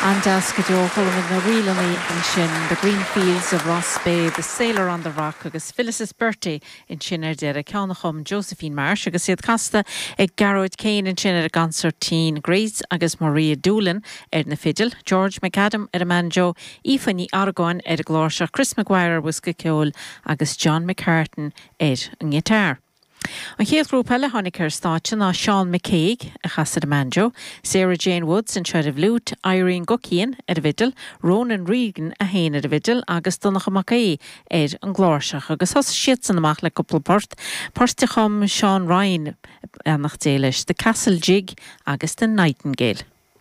An-deas go deo. Chuala muid na ríleanna ansin, The Green Fields of Rossbeigh, The Sailor on the Rock agus Phyllis's Birthday ansin ar deireadh, ceann a chum Josephine Marsh agus iad casta ag Gearóid Kane ansin ar an gconsairtín, Grace agus Maria Doolan ar na fidil, George McAdam ar an mbanjo, Aoife Ní Argáin ar an gcláirseach, Chris Maguire ar bhosca ceoil agus John McCartan ar an ngiotár. An chéad ghrúpa eile a tháinig ar stáitse ná Seán McCague, a chas ar an mbanjo, Sarah Jane Woods anseo ar an bhfliúit, Irene Guckian ar an bhfidil, Ronan Regan é féin ar an bhfidil agus Donncha Mac Aodha ar an gcláirseach. Agus thosaigh siadsan amach le cúpla port, poirt a chum Seán Ryan, beannacht Dé leis, The Castle Jig agus The Nightingale.